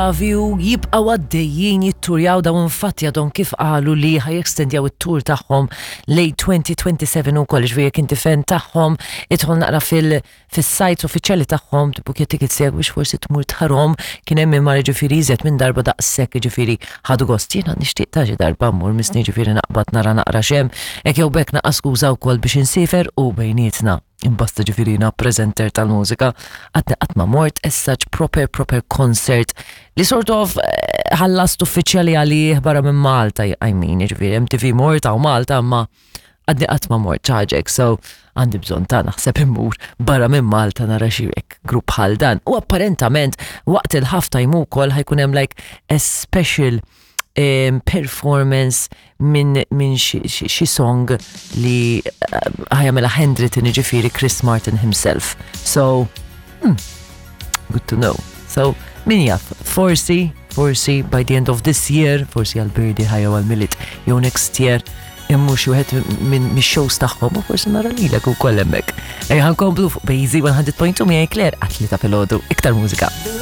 Bravi u jibqgħu għaddejjin jitturjaw dawn infatti għadhom kif qalu li ħa jextendjaw it-tour tagħhom lejn 2027 ukoll ġifieri jekk inti fan tagħhom idħol naqra fil fis-sites uffiċjali tagħhom tibbukja tickets tiegħek biex forsi tmur tħarhom kien hemm imma ġifieri iżjed minn darba daqshekk ġifieri ħadu gost jiena nixtieq ta' xi darba mmur misni ġifieri naqbad nara naqra x'hemm hekk jew b'hekk naqqa' skuża wkoll biex insiefer u bejnietna. Imbasta ġifiri jina presenter tal-mużika, għadni qatt ma mort as such proper proper concert li sort of eh, ħallast uffiċjali għalih barra minn Malta, I mean, ġifiri MTV mort għaw Malta, ma għadni qatt ma mort ċaġek, so għandi bżon ta' naħseb immur barra minn Malta nara xi grupp bħal dan. U apparentament waqt il-halftime ukoll ħajkun hemm like a special performance minn min xi song li eh, ħajamela handwritten ġifiri Chris Martin himself. So, good to know. So, min jaf, forsi, forsi by the end of this year, forsi għal-birdi ħajja għal-milit, jew next year, immu xi wieħed minn mix-shows tagħhom u forsi nara lilek ukoll hemmhekk. Ejja ħankomplu fuq Bejzi 100.2 miegħi Claire għat-tlieta filgħodu iktar mużika.